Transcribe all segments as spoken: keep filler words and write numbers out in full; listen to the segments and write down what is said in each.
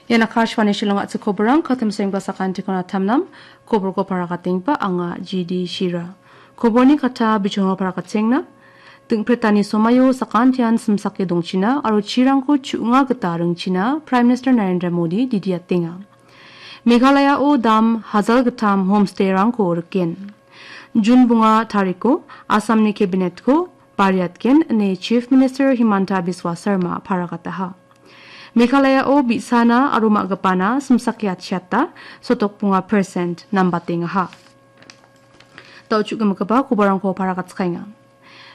Ian Akashvani Shillong a·chik koborang, katim sengba sakantikon atamnam, koborko paragatengipa anga G D Shira. Koborni kata bichongo paragatenga. Dingpretani somaio sakantian simsake dongchina aro chirangko chu·nga gita ringchina Prime Minister Narendra Modi didiatenga. Meghalayao dam hajal gittam homstay-rangko riken. Jun bunga tariko Assamni cabinet-ko bariatgen ine Chief Minister Himanta Biswa Sarma paragataha. Meghalayao bi·sana aro ma·gipana simsake atchiata sotok bunga percent nambatengaha. Da·o chu·gimigipa kobarangko paragatskaenga.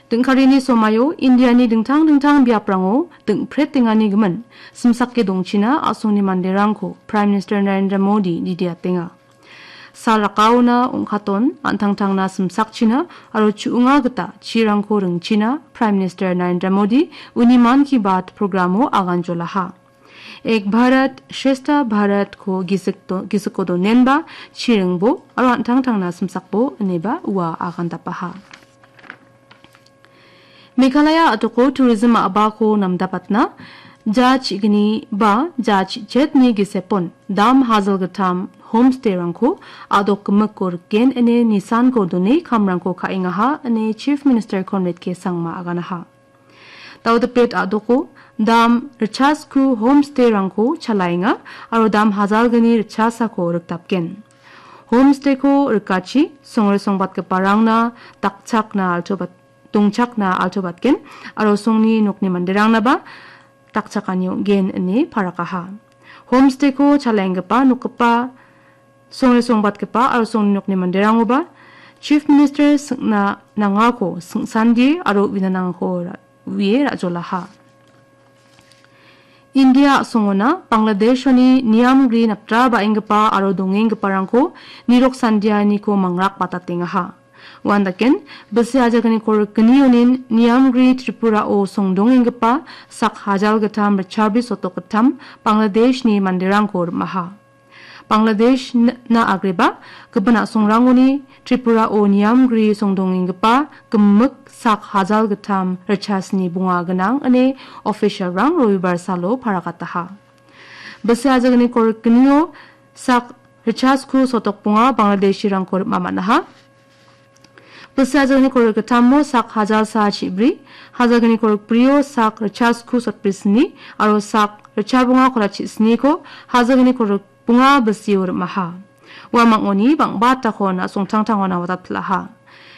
Dingkarini somaio Indiani dingtang dingtang biaprango dingpretengani gimin simsake dongchina a·songni manderangko Prime Minister Narendra Modi didiatenga. Sal rakaona ong·katon an·tangtangna simsakchina aro chu·nga gita chirangko ringchina Prime Minister Narendra Modi uni Mann Ki Baat programo aganjolaha. Ek Bharat, Shreshtha Bharat-ko gisik do-, gisiko donenba, chiringbo, aro an·tangtangna simsakbo, ineba ua agandapaha. Meghalaya a·doko tourism a·bako namdapatna, ja chigni ba ja chichetni gisepon, dam hajal gittam homstay-rangko a·dok gimiko riken ine nisanko done kamrangko ka·engaha, ine Chief Minister Conrad K Sangma aganaha. Daudapet a·doko dam richasku homstay-rangko chalaenga aro dam hajalgni richasako rikdapgen. Homstay-ko rikachi songre songbatgiparangna dakchakna altobat-, dongchakna altobatgen aro songni nokni manderangnaba dakchakani ong·gen ine parakaha. Homstay-ko chalaenggipa nokgipa songre songbatgipa aro songni nokni manderangoba Chief Minister singna nangako singsandie aro uina nangako ra-, uie ra·jolaha. India a·songona Bangladeshoni niamgri naptra ba·enggipa aro dongenggiparangko nirok sandianiko mangrak batatengaha. Uandaken, bisi ajagniko rikgnionin niamgri Tripurao songdongenggipa sak hajal gittam richabi sotok gittam Bangladeshni manderangko rim·aha. Bangladesh n-, na agreba, gipin a·songrangoni Tripurao niamgri songdongenggipa gimik sak hajal gittam richasni bonga gnang ine official-rang Robibar salo paragataha. Bisi ajagniko rikgnio sak richasku sotok bonga Bangladeshirangko rim·a man·aha. Bisi ajagniko rikgittamo sak hajal sa chibri, hajagniko rikbrio sak richasku sotbrisni, aro sak richabonga kolachichniko hajagniko rikbonga bisio rim·aha. Ua mangoni bang·batakon a·songtangtangon awatapil·aha.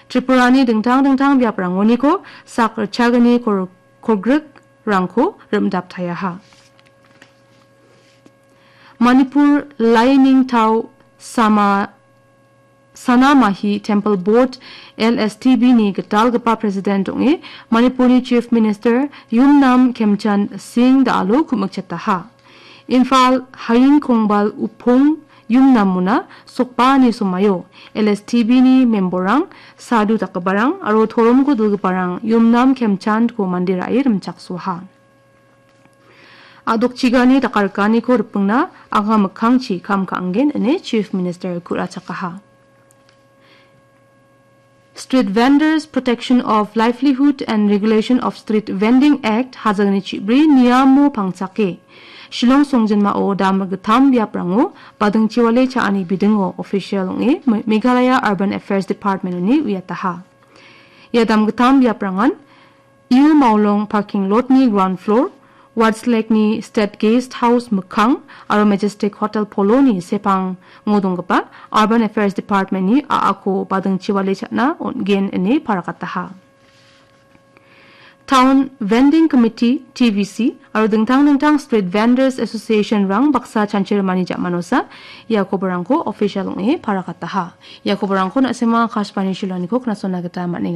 Tripurani dingtang dingtang biaprangoniko sak richagni kor-, kolgrikrangko rim·daptaiaha. Manipur Lai Ningtao Sama Sanamahi Temple Board, L S T B ni gitalgipa President ong·e Manipurni Chief Minister Yumnam Khemchand Singh da·alo ku·mikchetaha. Imphal Haying Khongbal Upong Yumnamona sokbaani somaio L S T B ni memberrang, sadhu dakgiparang aro toromko dilgiparang Yumnam Khemchandko mande ra·e rimchaksoaha. A·dokchigani dakarikaniko ripengna anga mikkangchi kam ka·angen ine Chief Minister ku·rachakaha. Street Vendors Protection of Livelihood and Regulation of Street Vending Act hajangni chibri niamo pangchake, Shillong songjinmao dam gittam biaprango badingchiwale cha·ani bidingo official ong·e Me-, Meghalaya Urban Affairs Department-oni uiataha. Ia dam gittam biaprangan U Maulong parking lot-ni ground floor, Westlake-ni State Guest House mikkang aro Majestic Hotel Polo-ni sepango donggipa Urban Affairs Department-ni a·ako badingchiwale cha·na on·gen ine parakataha. Town Vending Committee, T V C, aro dingtang dingtang Street Vendors Association-rang baksa chanchirimani ja·manosa ia koborangko official ong·e parakataha. Ia koborangko na·sima Akashvani Shillong-niko knasona gita man·enga.